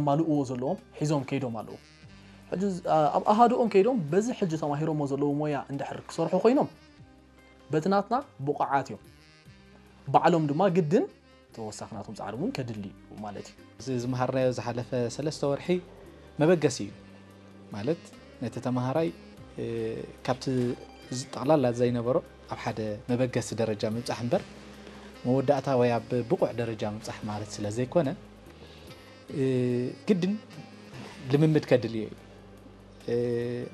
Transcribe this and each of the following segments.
ዘማልእዎ ዘለዎም ሒዞም ከይዶም ኣለዉ። ሕጂ ኣብ ኣሃዱኦም ከይዶም በዚ ሕጂ ተማሂሮሞ ዘለዉ ሞያ እንድሕር ክሰርሑ ኮይኖም በቲ ናትና ብቑዓት እዮም። ባዕሎም ድማ ግድን ተወሳኺ ናቶም ጻዕሪ እውን ከድሊ እዩ ማለት እዩ። እዚ ዝመሃርናዮ ዝሓለፈ ሰለስተ ወርሒ መበገሲ እዩ። ማለት ነቲ ተመሃራይ ካብቲ ጠቕላላ ዘይነበሮ ኣብ ሓደ መበገሲ ደረጃ ምብጻሕ እምበር መወዳእታ ወይ ኣብ ብቑዕ ደረጃ ምብጻሕ ማለት ስለ ዘይኮነ ግድን ልምምድ ከድልዮ እዩ።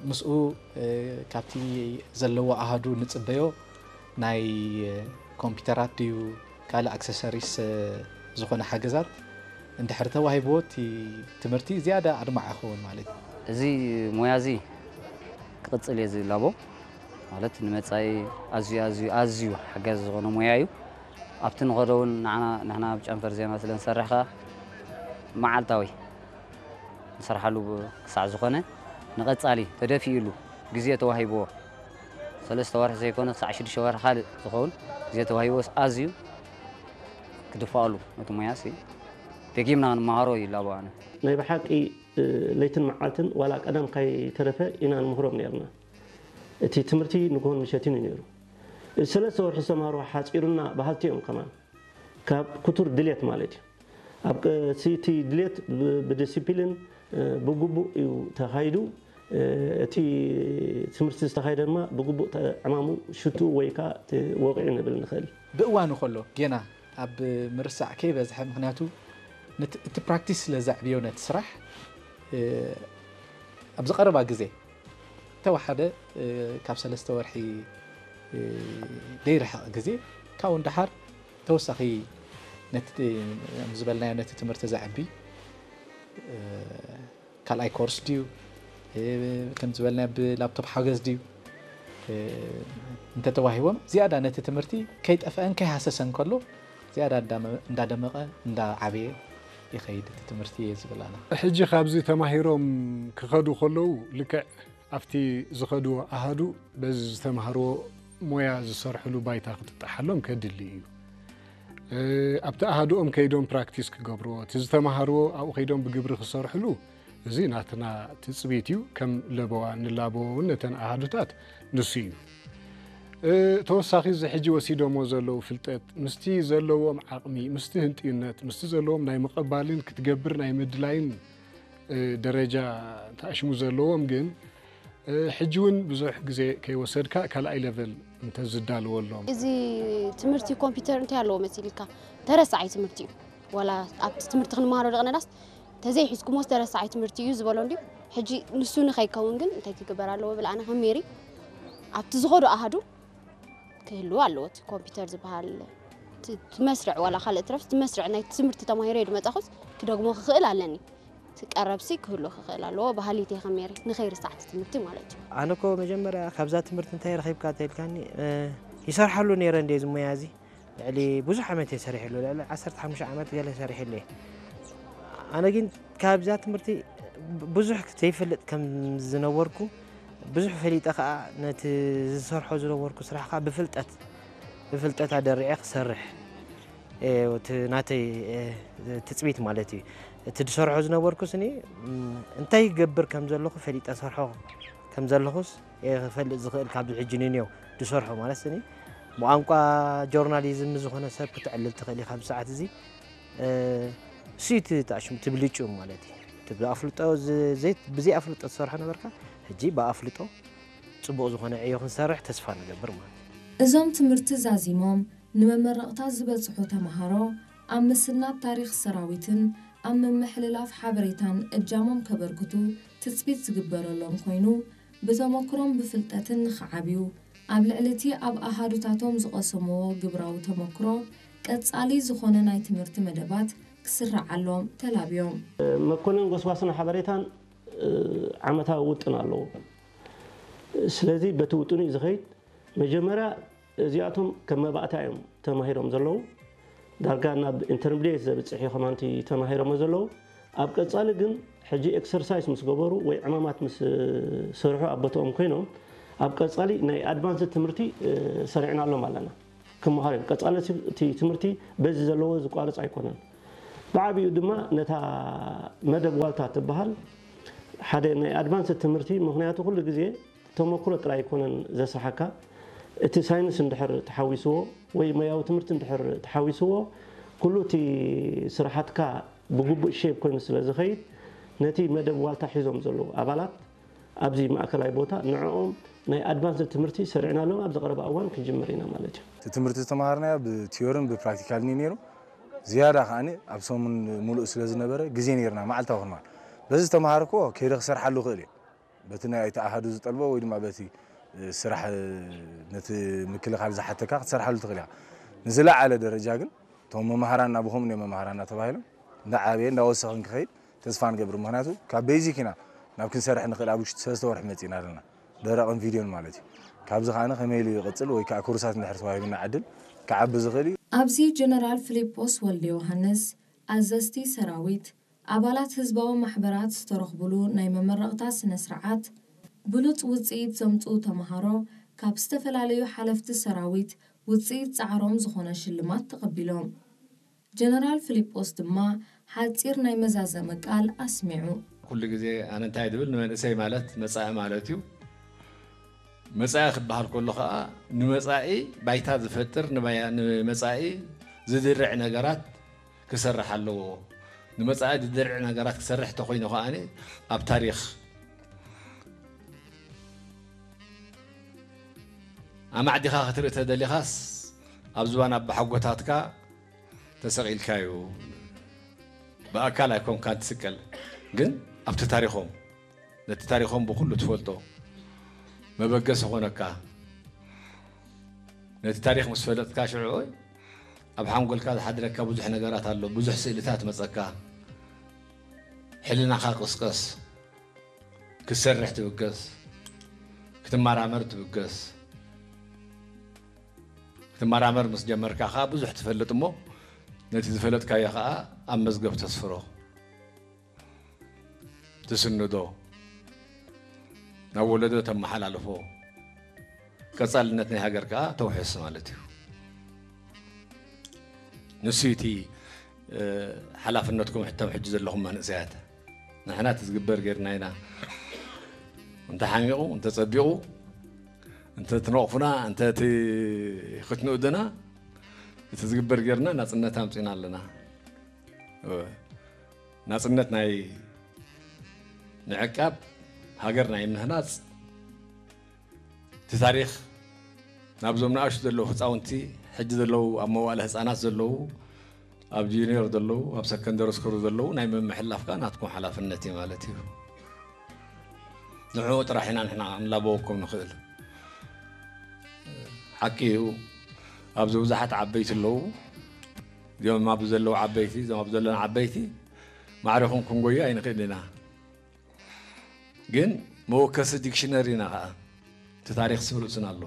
ምስኡ ካብቲ ዘለዎ ኣሃዱ ንጽበዮ ናይ ኮምፒውተራት ድዩ ካልእ ኣክሰሰሪስ ዝኾነ ሓገዛት እንድሕር ተዋሂብዎ እቲ ትምህርቲ ዝያዳ ኣድማዕ ይኸውን ማለት እዩ። እዚ ሞያ እዚ ክቕጽል እየ ዝላቦ። ማለት ንመጻኢ ኣዝዩ ኣዝዩ ኣዝዩ ሓጋዚ ዝኾነ ሞያ እዩ። ኣብቲ ንኸዶ እውን ንዓና ንሕና ኣብ ጨንፈር ዜና ስለ ንሰርሕ ከኣ መዓልታዊ ንሰርሓሉ ክሳዕ ዝኾነ ንቐጻሊ ተደፊኡሉ ግዜ ተዋሂብዎ ሰለስተ ወርሒ ዘይኮነ ክሳዕ ሽዱሽተ ወርሒ ካልእ ዝኸውን ግዜ ተዋሂብዎ ኣዝዩ ክድፋኣሉ ነቲ ሞያሲ ደጊምና ክንመሃሮ ይላቦ ኣነ። ናይ ብሓቂ ለይትን መዓልትን ዋላ ቀደም ካይተረፈ ኢና ንምህሮም ነርና። እቲ ትምህርቲ ንግሆን ምሸትን እዩ ነይሩ። እዚ ሰለስተ ወርሒ ዝተምሃርዎ ሓጺሩና በሃልቲ እዮም ከማን። ካብ ክቱር ድሌት ማለት እዩ። ኣብ እቲ ድሌት ብዲሲፕሊን ብግቡእ እዩ ተኻይዱ። እቲ ትምህርቲ ዝተኻየደ ድማ ብግቡእ ዕማሙ ሽትኡ ወይ ከዓ ወቂዑ ንብል ንኽእል። ብእዋኑ ከሎ ጌና ኣብ ምርሳዕ ከይበዝሐ፣ ምኽንያቱ እቲ ፕራክቲስ ስለ ዘዕብዮ ነቲ ስራሕ ኣብዚ ቀረባ ግዜ ተወሓደ ካብ ሰለስተ ወርሒ ዘይርሕቕ ግዜ ካብኡ ንደሓር ተወሳኺ ነቲ ዝበልናዮ ነቲ ትምህርቲ ዘዕቢ ካልኣይ ኮርስ ድዩ ከም ዝበልናዮ ብላፕቶፕ ሓገዝ ድዩ እንተተዋሂቦም ዝያዳ ነቲ ትምህርቲ ከይጠፍአን ከይሃሰሰን ከሎ ዝያዳ እንዳደመቐ እንዳዓበየ ይኸይድ እቲ ትምህርቲ እየ ዝብል ኣነ። ሕጂ ካብዚ ተማሂሮም ክኸዱ ከለዉ ልክዕ ኣብቲ ዝኸድዎ ኣሃዱ በዚ ዝተምሃርዎ ሞያ ዝሰርሕሉ ባይታ ክጥጠሓሎም ከድሊ እዩ። ኣብቲ ኣሃድኦም ከይዶም ፕራክቲስ ክገብርዎ፣ እቲ ዝተምሃርዎ ኣብኡ ከይዶም ብግብሪ ክሰርሕሉ እዚ ናትና ትፅቢት እዩ። ከም ለበዋ ንላበዎ እውን ነተን ኣሃዱታት ንሱ እዩ። ተወሳኺ እዚ ሕጂ ወሲዶሞ ዘለዉ ፍልጠት ምስቲ ዘለዎም ዓቕሚ፣ ምስቲ ህንጥዩነት፣ ምስቲ ዘለዎም ናይ ምቕባልን ክትገብር ናይ ምድላይን ደረጃ ተኣሽሙ ዘለዎም ግን ሕጂ እውን ብዙሕ ግዜ ከይወሰድካ ካልኣይ ለቨል እንተዝዳልወሎም። እዚ ትምህርቲ ኮምፒውተር እንታይ ኣለዎ መሲልካ? ተረሳዓይ ትምህርቲ እዩ። ዋላ ኣብቲ ትምህርቲ ክንመሃሮ ደቕነዳስ ተዘይሒዝኩሞስ ተረሳዓይ ትምህርቲ እዩ ዝበሎ እንድዩ። ሕጂ ንሱ ንኸይከውን ግን እንታይ ክግበር ኣለዎ ብል ኣነ ከም ሜሪ ኣብቲ ዝኸዶ ኣሃዱ ክህልዎ ኣለዎ። እቲ ኮምፒውተር ዝበሃል እቲ መስርዕ ዋላ ካልእ ትረፍ እቲ መስርዕ ናይ ትምህርቲ ተማሂረ ድመጻኹስ ክደግሞ ክኽእል ኣለኒ። እቲ ቀረብሲ ክህሉ ክኽእል ኣለዎ በሃሊት እየ ከም ሜሪ ንኸይርሳዕ እቲ ትምህርቲ ማለት እዩ። ኣነ እኮ መጀመርያ ካብዛ ትምህርቲ እንታይ ረኺብካ ተልካኒ ይሰርሓሉ ነይረ እንደ እዚ ሞያ እዚ ልዕሊ ብዙሕ ዓመት እየ ሰሪሕሉ ልዕሊ ዓሰርተ ሓሙሽተ ዓመት ገለ ሰሪሕሉ እየ። ኣነ ግን ካብዛ ትምህርቲ ብዙሕ ዘይፈልጥ ከም ዝነበርኩ ብዙሕ ፈሊጠ ከዓ ነቲ ዝሰርሖ ዝነበርኩ ስራሕ ከዓ ብፍልጠት ብፍልጠት ኣደሪዐ ክሰርሕ እቲ ናተይ ትፅቢት ማለት እዩ። እቲ ዝሰርሖ ዝነበርኩ ስኒ እንታይ ይገብር ከም ዘለኹ ፈሊጠ ሰርሖ ከም ዘለኹስ ክፈልጥ ዝኽእል ካብዚ ሕጂ ንንየው ዝሰርሖ ማለት ስኒ ብቋንቋ ጆርናሊዝም ዝኾነ ሰብ ክትዕልል ትኽእል ኢኻ ኣብዚ ሰዓት እዚ እሱ እቲ ተኣሽሙ ትብልጩ ማለት እዩ። እቲ ብኣፍልጦ ብዘይ ኣፍልጦ ትሰርሖ ነበርካ ሕጂ ብኣፍልጦ ፅቡቕ ዝኾነ ዕዮ ክንሰርሕ ተስፋ ንገብር ማለት እዩ። እዞም ትምህርቲ ዛዚሞም ንመመረቕታ ዝበፅሑ ተምሃሮ ኣብ ምስናድ ታሪኽ ሰራዊትን ኣብ ምምሕልላፍ ሓበሬታን እጃሞም ከበርክቱ ትፅቢት ዝግበረሎም ኮይኑ ብተመክሮን ብፍልጠትን ንኽዓብዩ ኣብ ልዕሊ እቲ ኣብ ኣሃዱታቶም ዝቐሰምዎ ግብራዊ ተመክሮ ቀፃሊ ዝኾነ ናይ ትምህርቲ መደባት ክስረዓሎም ተላብዮም። መኮነን ጎስጓስን ሓበሬታን ዓመታዊ ውጥን ኣለዎ። ስለዚ በቲ ውጥኑ እዩ ዝኸይድ። መጀመርያ እዚኣቶም ከም መባእታ እዮም ተማሂሮም ዘለዉ። ዳርጋ ናብ ኢንተርሚድየት ዘብፅሕ እዩ ከማንቲ ተማሂሮሞ ዘለዉ። ኣብ ቀፃሊ ግን ሕጂ ኤክሰርሳይስ ምስ ገበሩ ወይ ዕማማት ምስ ሰርሑ ኣብ ቦትኦም ኮይኖም ኣብ ቀፃሊ ናይ ኣድቫንስድ ትምህርቲ ሰሪዕናሎም ኣለና። ክመሃሩ እዮም። ቀፃሊ እቲ ትምህርቲ በዚ ዘለዎ ዝቋርፅ ኣይኮነን። ብዓብኡ ድማ ነታ መደብ ዋልታ ትበሃል ሓደ ናይ ኣድቫንስ ትምህርቲ፣ ምኽንያቱ ኩሉ ግዜ ተመክሮ ጥራይ ኣይኮነን ዘስርሓካ። እቲ ሳይንስ እንድሕር ተሓዊስዎ ወይ ሞያዊ ትምህርቲ እንድሕር ተሓዊስዎ፣ ኩሉ እቲ ስራሓትካ ብግቡእ ሼፕ ኮይኑ ስለ ዝኸይድ፣ ነቲ መደብ ዋልታ ሒዞም ዘለዉ ኣባላት ኣብዚ ማእከላይ ቦታ ንዕኦም ናይ ኣድቫንስ ትምህርቲ ሰሪዕናሎም ኣብዚ ቀረባ እዋን ክንጅምር ኢና ማለት እዩ። እቲ ትምህርቲ ዝተምሃርናዮ ብቲዮርን ብፕራክቲካልን እዩ ነይሩ። ዝያዳ ከኣ ኣብ ሰሙን ሙሉእ ስለ ዝነበረ ግዜ ነይርና፣ መዓልታዊ ክንማር። በዚ ዝተምሃርክዎ ከይደ ክሰርሓሉ ክእል እየ። በቲ ናይ እቲ ኣሃዱ ዝጠልቦ ወይ ድማ በቲ ስራሕ ነቲ ምክልኻል ዝሓተካ ክትሰርሓሉ ትኽእል ኢኻ። ንዝለዓለ ደረጃ ግን እቶም መማህራንና ብኸምኡ እዮም መማህራንና ተባሂሎም እንዳዓበየ እንዳወሰኸ እንክኸይድ ተስፋ ንገብር። ምኽንያቱ ካብ ቤዚክ ኢና ናብ ክንሰርሕ ንኽእል ኣብ ውሽጢ ሰለስተ ወርሒ መፂእና ኣለና። ደረቕን ቪድዮን ማለት እዩ። ካብዚ ከኣ ከመይ ኢሉ ይቕፅል ወይ ከዓ ኮርሳት እንድሕር ተዋሂቡና ዕድል ክዓቢ ዝኽእል እዩ። ኣብዚ ጀነራል ፊሊጶስ ወልደ ዮሃንስ፣ ኣዘዝቲ ሰራዊት፣ ኣባላት ህዝባዊ ማሕበራት ዝተረኽቡሉ ናይ መመረቕታ ስነ ስርዓት፣ ብሉፅ ውፅኢት ዘምፅኡ ተምሃሮ ካብ ዝተፈላለዩ ሓለፍቲ ሰራዊት ውፅኢት ፃዕሮም ዝኾነ ሽልማት ተቐቢሎም። ጀነራል ፊሊጶስ ድማ ሓፂር ናይ መዛዘሚ ቃል ኣስሚዑ። ኩሉ ግዜ ኣነ እንታይ ዝብል ንመንእሰይ ማለት መፃኢ ማለት እዩ። መፃኢ ክበሃል ከሎ ከዓ ንመፃኢ ባይታ ዝፈጥር ንባያ- ንመፃኢ ዝድርዕ ነገራት ክሰርሕ ኣለዎ። ንመፃኢ ዝድርዕ ነገራት ክሰርሕ ተኮይኑ ከዓ ኣብ ታሪክ ኣማዕዲኻ ክትርኢ ተደሊኻስ ኣብ ዝባን ኣባሓጎታትካ ተሰቒልካ እዩ። ብኣካል ኣይኮንካን ትስቀል፣ ግን ኣብቲ ታሪኾም ነቲ ታሪኾም ብኹሉ ትፈልጦ መበገሲ ኾነካ። ነቲ ታሪኽ ምስ ፈለጥካ ሽዑ ኣብ ሓንጎልካ ዝሓድረካ ብዙሕ ነገራት ኣሎ፣ ብዙሕ ስእልታት መጸካ። ሕልናኻ ቅስቀስ፣ ክትሰርሕ ትብገስ፣ ክትመራመር ትብገስ። ክትመራመር ምስ ጀመርካ ኸዓ ብዙሕ ትፈልጥ እሞ ነቲ ዝፈለጥካዮ ኸዓ ኣብ መዝገብ ተስፍሮ፣ ትስንዶ፣ ናብ ወለዶ ተመሓላልፎ፣ ቀፃልነት ናይ ሃገር ከዓ ተውሕስ ማለት እዩ። ንሱ እቲ ሓላፍነትኩም ሕቶም ሕጂ ዘለኹም መንእሰያት። ንሕና እቲ ዝግበር ጌርና ኢና። እንተ ሓሚቑ እንተ ጸቢቑ እንተ ትነቕፉና እንተ እቲ ክትንእዱና እቲ ዝግበር ጌርና ናጽነት ኣምጺና ኣለና። ናጽነት ናይ ምዕቃብ ሃገር ናይ ምህናጽ እቲ ታሪኽ ናብዞም ንኣሽቱ ዘለዉ ህፃውንቲ ሕጂ ዘለዉ ኣብ መዋእለ ህፃናት ዘለዉ ኣብ ጁኒየር ዘለዉ ኣብ ሰከንደሪ ስኩል ዘለዉ ናይ ምምሕልላፍ ከዓ ናትኩም ሓላፍነት እዩ ማለት እዩ። ንዕኡ ጥራሕ ኢና ንሕና ክንላበወኩም ንኽእል። ሓቂ እዩ ኣብዚ ብዙሓት ዓበይቲ ኣለዉ። እዚኦም ኣብዚ ዘለዉ ዓበይቲ እዞም ኣብ ዘለና ዓበይቲ ማዕሪኹም ክንጎዩ ኣይንኽእል ኢና። ግን መወከሲ ዲክሽነሪ ኢና ከዓ እቲ ታሪክ ስም ርእስና ኣሎ።